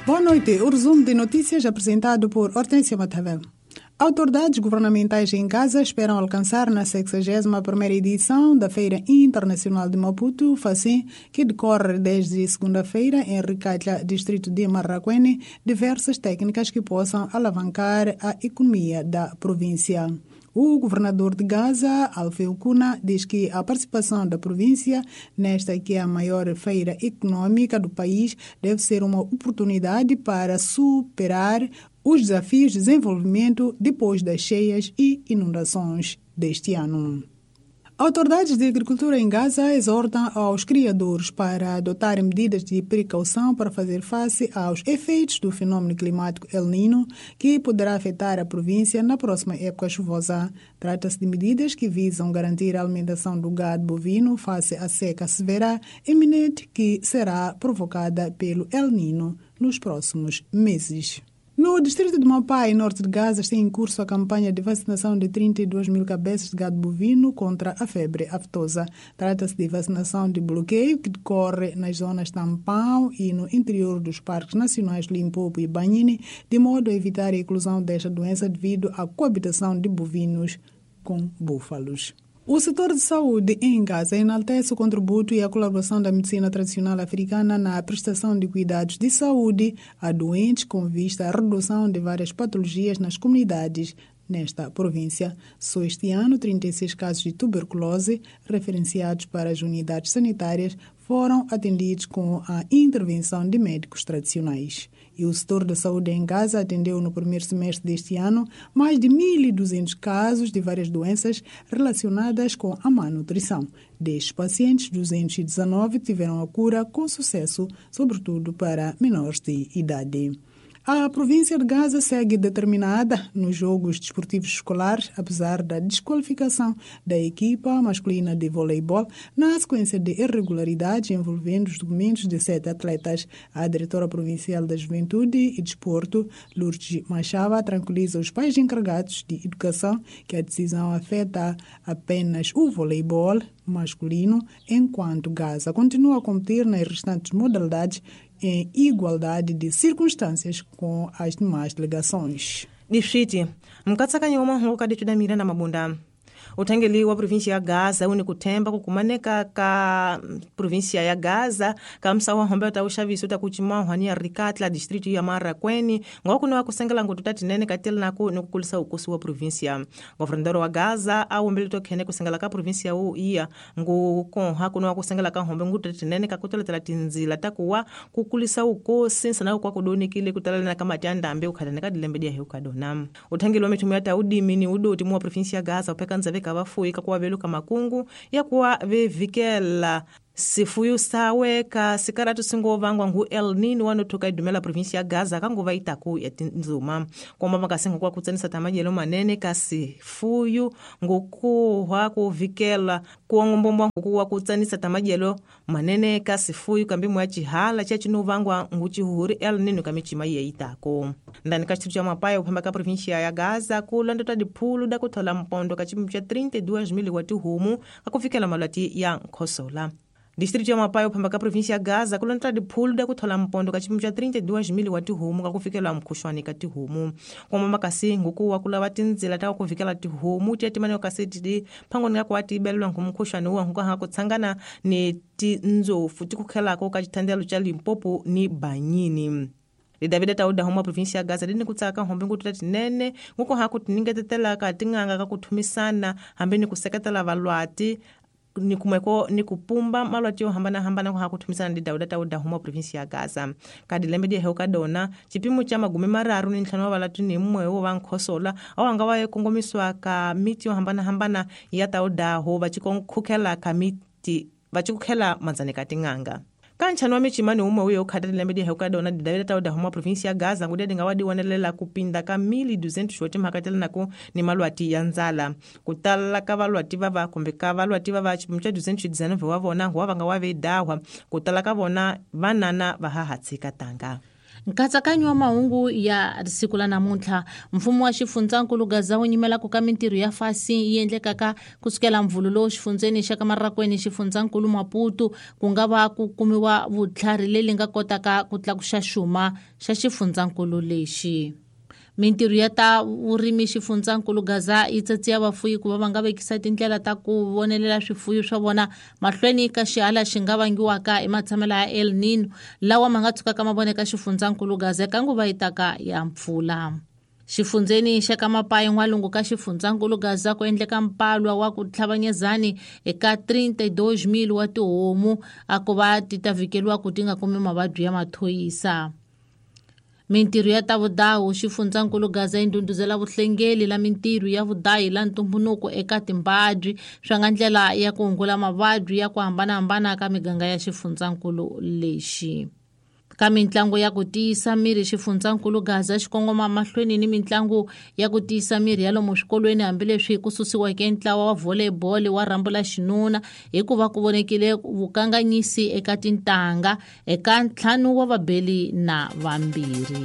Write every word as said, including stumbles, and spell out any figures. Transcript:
Boa noite. O resumo de notícias apresentado por Hortência Matavel. Autoridades governamentais em Gaza esperam alcançar na sexagésima primeira edição da Feira Internacional de Maputo, FACIM, que decorre desde segunda-feira em Ricatla, distrito de Marracuene, diversas técnicas que possam alavancar a economia da província. O governador de Gaza, Alfeu Cuna, diz que a participação da província nesta que é a maior feira econômica do país deve ser uma oportunidade para superar os desafios de desenvolvimento depois das cheias e inundações deste ano. Autoridades de agricultura em Gaza exortam aos criadores para adotarem medidas de precaução para fazer face aos efeitos do fenômeno climático El Niño, que poderá afetar a província na próxima época chuvosa. Trata-se de medidas que visam garantir a alimentação do gado bovino face à seca severa iminente que será provocada pelo El Niño nos próximos meses. No distrito de Mapai, norte de Gaza, está em curso a campanha de vacinação de trinta e duas mil cabeças de gado bovino contra a febre aftosa. Trata-se de vacinação de bloqueio que decorre nas zonas tampão e no interior dos parques nacionais Limpopo e Banhine, de modo a evitar a eclosão desta doença devido à coabitação de bovinos com búfalos. O setor de saúde em Gaza enaltece o contributo e a colaboração da medicina tradicional africana na prestação de cuidados de saúde a doentes com vista à redução de várias patologias nas comunidades nesta província. Só este ano, trinta e seis casos de tuberculose referenciados para as unidades sanitárias foram atendidos com a intervenção de médicos tradicionais. E o setor da saúde em Gaza atendeu no primeiro semestre deste ano mais de mil e duzentos casos de várias doenças relacionadas com a má nutrição. Destes pacientes, duzentos e dezenove tiveram a cura com sucesso, sobretudo para menores de idade. A província de Gaza segue determinada nos Jogos Desportivos Escolares, apesar da desqualificação da equipa masculina de voleibol na sequência de irregularidades envolvendo os documentos de sete atletas. A diretora provincial da Juventude e Desporto, Lourdes Machava, tranquiliza os pais encarregados de educação que a decisão afeta apenas o voleibol masculino, enquanto Gaza continua a competir nas restantes modalidades em igualdade de circunstâncias com as demais delegações. Difiti, mkatsakanyi wa mahungu kaditu Miranda Mabunda. Uthengeli wa província ya Gaza uni kuthemba kukumaneka ka província ya Gaza ka msawa hombe ta uxaviso ta kucimahwa ya Ricatla distrito ya Marracuene ngwakuno wa kusengela ngutu ta tinene katela naku ni kukulisa ukosi wa província. Governador wa Gaza a wombele to khene kusengela ka província wu iya ngukonha kuno wa kusengela ka hombe ngutu ta tinene ka kutoletela tinzila ta kuwa kukulisa ukosi nsana kwa kudonikile kutalana ka mati ya ndambe ukhatana ka dilembe dia heukadona. Uthengeli wa mithumu ya taudimi ni udoti mu wa província ya Gaza upheka ndzave ka vafuyi ka kuwa veluka makungu ya kuwa vevikela sifuyu sawe ka sikaratu singovangwa ngu El Nino wanothoka idumela província ya Gaza kanguva itaku ya tinzuma komba makasingo kwa kutsanisa tamajelo manene ka sifuyu ngukuhwa kuvikela kuongombomba ngukuwa kutsanisa tamajelo manene ka sifuyu kambimu ya chihala cha chinovangwa ngu chihuhuri El Nino kamichima ye itako ndani ka chitu cha Mapaya uphamba ka província ya Gaza kulondota diphulu da kuthola mpondo ka chipimu cha trinta e duas mil wa tihumu kakufikela malwati ya nkhosola. Distrito ya Mapai uphamba ka província ya Gaza kulonta diphulu da kuthola mpondo ka chipimu cha trinta e duas mil wa tihumu kakufikela mkhushwani ka tihumu komba makasi ngukuwa kulava tinzila ta kuvikela tihumu tia timane kaseti di phangoni ka kwa tibelelwa ngumkhushwani wa nkuha kutsangana ni tinzofu tikukhelako ka chithandelo cha Limpopo ni Banyini. Lidavida tauda homa província ya Gaza lini kutsaka hombe ngutu tinene nguko hakutingetetela ka tinganga ka kuthumisana hambe ni kuseketela valwati ni kumeko ni kupumba malwati yo hambana hambana ko hakuthumisana ndi Dauda tauda homa província ya Gaza kadilembe die heuka dona chipimo cha magume mararu ni ntlhanu wa valatu ni mmwe wo vankhosola awanga wa kongomiswa ka miti yo hambana hambana ya tauda ho va chikonkhukela ka miti va chikukhela manzane ka tinganga Kanchano wa michimani umwe uyo ukhatele lembe heuka dona Davida tauda homa província ya Gaza ngudede ngawadi wanelela kupinda ka mil e duzentos shoti mhakatela nako ni malwati ya nzala kutala ka valwati vava kumbe ka valwati vava chipimu cha duzentos e dezenove wa vona ngwa vanga wa vedahwa kutala ka vona vanana va hahatsika tanga. Nkatsakanyo wa mahungu ya siku la namuntlha mfumo wa xifundzankulu Gaza wu nyimelaka ka mintirho ya fasi yi endlekaka kusukela mvulu lowu xifundzeni xa ka Marrakweni xifundzankulu Maputo ku nga va ku kumiwa vutlhari leri nga kotaka ku tlakuxa xuma xa xifundzankulu lexi. Mintirho ya ta vurimi xifundzankulu Gaza yi tsatsiya vafuyi ku va va nga vekisa tindlela ta ku vonelela swifuyo swa vona mahlweni ka xihala xi nga vangiwaka hi matshamelo ya El Nino lawa ma nga tshukaka ma voneka xifundzankulu Gaza eka nguva yi taka ya mpfula. Xifundzeni xa ka Mapayi n'walungu ka xifundzankulu Gaza ku endleka mpalwa wa ku tlhavanyezani eka trinta e dois mil wa tihomu a ku va ti ta vhikeliwa ku ti nga kumi mavabyi ya mathoyisa. Mintirho ya ta vudawu xifundzankulu Gaza yi ndhundhuzela vuhlengeli la mintirho ya vudayi la ntumbunuko eka timbabyi swa nga ndlela ya ku hungula mavabyi ya ku hambanahambana ka miganga ya xifundzankulu lexi. Ka mintlangu ya ku tiyisa miri xifundzankulu Gaza xi kongoma mahlweni ni mintlangu ya ku tiyisa miri ya lomu swikolweni hambileswi ku susiweke ntlawa wa volleyball wa rhambu la xinuna hikuva ku vonekile vukanganyisi eka tintangha eka ntlhanu wa vabeli na vambirhi.